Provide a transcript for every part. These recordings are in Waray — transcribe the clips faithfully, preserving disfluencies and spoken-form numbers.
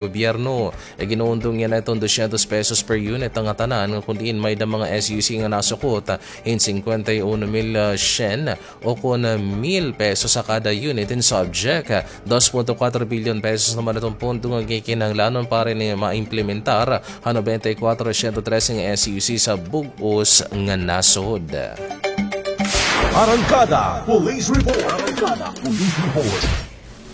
gobyerno. Iginundong yana iton dosyentos pesos per unit an ngatanan, kun diin may-ada mga S U C nga nasukot hin singkwenta y uno mil, ah, syen o kun mil pesos ha kada unit hin subject. Dos punto kuwatro bilyon pesos naman iton pondo nga gikinahanglanon para ini maimplementar ha nobenta y kuwatro siyento trese nga S U C sa bug-os nga nasod. Arangkada Police Report. Arangkada Police Report.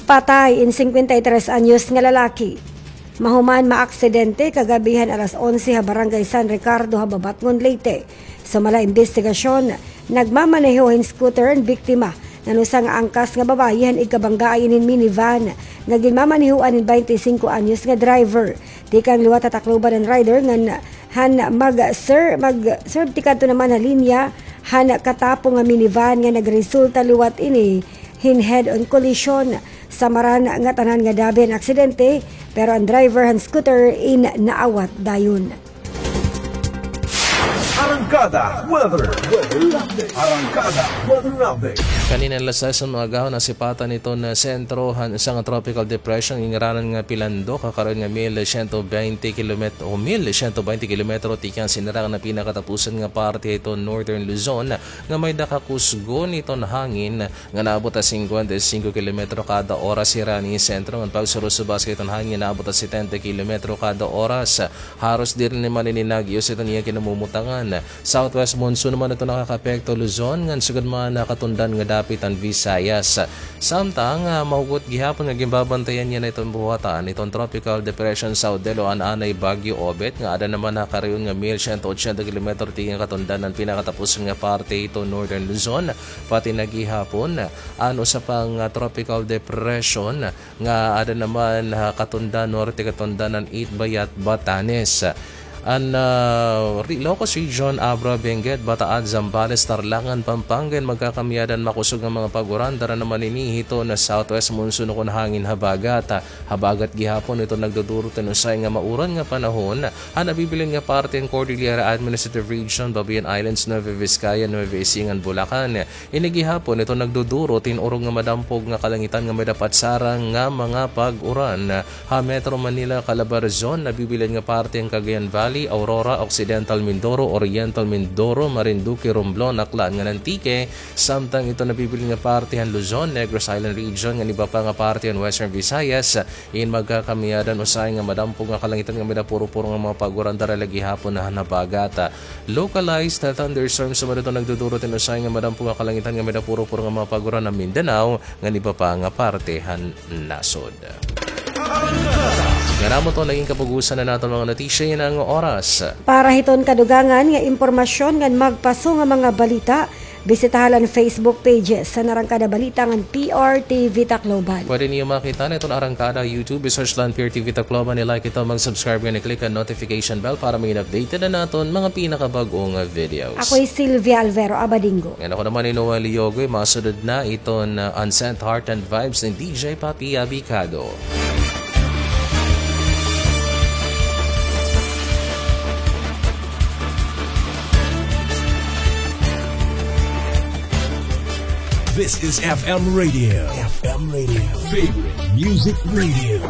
Patay in singkwenta y tres anyos nga lalaki. Mahuman maaksidente kagab-i han alas onse ha Barangay San Ricardo ha Babatngon, Leyte. Sumala ha imbestigasyon, nagmamaneho hin scooter an biktima ngan usa nga angkas nga babaye han igkabanggaay inin minivan nga ginmamanehoan hin baynte singko anyos nga driver. Tikang liwat ha Tacloban an rider ngan han mag-sir-, mag-serve tikadto naman ha linya han katapong nga minivan nga nagresulta liwat ini hin head-on collision. Samaran ngatanan nga dabi an aksidente, pero an driver han scooter in naawat dayon. Arangkada Weather. Arangkada Weather Update. Kanina alas sais han mga agahon, nasipatan iton sentro han usa nga tropical depression, ingaranan nga Pilandok, ha karayo nga mil siyento baynte kilomet-, o mil siyento baynte kilometro tikang sinirangan han pinakatapusan nga parte hiton Northern Luzon, nga may-ada kakusgon iton hangin nga naabot ha singkwenta y singko kilometro kada oras. Hirani sentro ngan pagsurusubas hiton hangin naabot ha setenta kilometro kada oras. Haros diri naman ini nag-iyo sa iton iya kinamumutangan. Southwest monsoon naman iton nakakaapekto Luzon ngan sugad man ha katundan nga dapit han Visayas. Samtang, ah, mahugot gihapon nga ginbabantayan yana iton buhatan iton Tropical Depression Saudel o an anay Bagyo Obet nga aada naman ha karayo nga mil siyento otsenta kilometro tikang katundan han pinakatapusan nga parte hiton Northern Luzon, pati na gihapon an usa pa nga tropical depression nga aada naman ha katundan, norte katundan han Itbayat, Batanes. An, ah, Ilocos Region, Abra, Benguet, Bataad, Zambales, Tarlac ngan Pampanga in magkakamiyadan makusog nga mga pag-uran, dara naman ini hiton southwest monsoon o kon hangin habagat. Habagat gihapon iton nagdudurot hin usahay nga mauran nga panahon ha nabibilin nga parte han Cordillera Administrative Region, Babuyan Islands, Nueva Vizcaya, Nueva Ecija ngan Bulacan. Ini gihapon iton nagdudurot hin urog nga madampog nga kalangitan nga may-ada patsara nga mga pag-uran ha Metro Manila, Calabarzon, nabibilin nga parte han Cagayan Valley, Aurora, Occidental Mindoro, Oriental Mindoro, Marinduque, Romblon, Aklan ngan Antique, samtang iton nabibilin nga parte han Luzon, Negros Island Region ngan iba pa nga parte han Western Visayas. In magkakamiyadan usahay nga madampog nga kalangitan nga may-ada puro-puro nga mga pag-uran, dara la gihapon han habagat. Localized thunderstorms naman iton nagdudurot hin usahay nga madampog nga kalangitan nga may-ada puro-puro nga mga pag-uran ha Mindanao ngan iba pa nga parte han nasod. Ngan amo to nagin kapugusan han aton mga notisya yana nga oras. Para hiton kadugangan nga impormasyon ngan magpaso nga mga balita, bisitaha la an Facebook page han Arangkada Balita ngan P R T V Tacloban. Pwede niyo makita an aton Arangkada YouTube, i-search la an P R T V Tacloban, i-like ito, mag-subscribe ngan i-click an notification bell para magin updated an aton mga pinakabag-o nga videos. Ako hi Sylvia Alvero Abadingo. Ngan ako naman hi Noel Yogoy, masunod na iton, uh, Unsent Heart and Vibes ni D J Papi Abicado. This is F M Radio. F M Radio. Favorite Music Radio.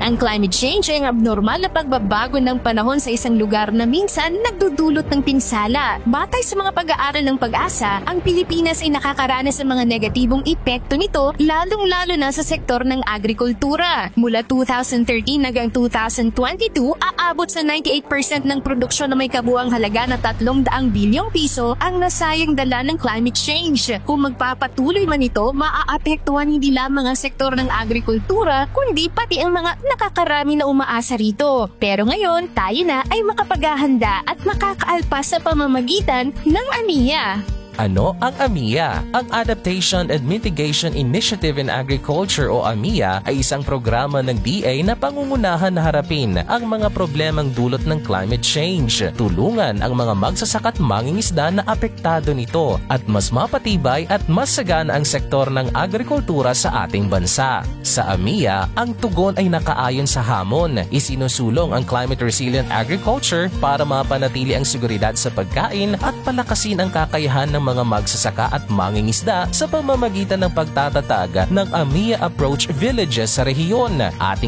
Ang climate change ay ang abnormal na pagbabago ng panahon sa isang lugar na minsan nagdudulot ng pinsala. Batay sa mga pag-aaral ng PAGASA, ang Pilipinas ay nakakaranas ng mga negatibong epekto nito, lalong-lalo na sa sektor ng agrikultura. Mula two thousand thirteen hanggang two thousand twenty-two, aabot sa ninety-eight percent ng produksyon na may kabuuang halaga na tatlong daang bilyong piso ang nasayang dala ng climate change. Kung magpapatuloy man ito, maaapektuhan hindi lamang ang sektor ng agrikultura, kundi pati ang mga nakakarami na umaasa rito. Pero ngayon, tayo na ay makapaghahanda at makakaalpas sa pamamagitan ng AMIA. Ano ang AMIA? Ang Adaptation and Mitigation Initiative in Agriculture o AMIA ay isang programa ng D A na pangungunahan na harapin ang mga problemang dulot ng climate change. Tulungan ang mga magsasaka at mangingisda na apektado nito at mas mapatibay at mas sagana ang sektor ng agrikultura sa ating bansa. Sa AMIA, ang tugon ay nakaayon sa hamon. Isinusulong ang climate resilient agriculture para mapanatili ang seguridad sa pagkain at palakasin ang kakayahan ng mga magsasaka at mangingisda sa pamamagitan ng pagtatatag ng AMIA Approach Villages sa rehiyon. Ating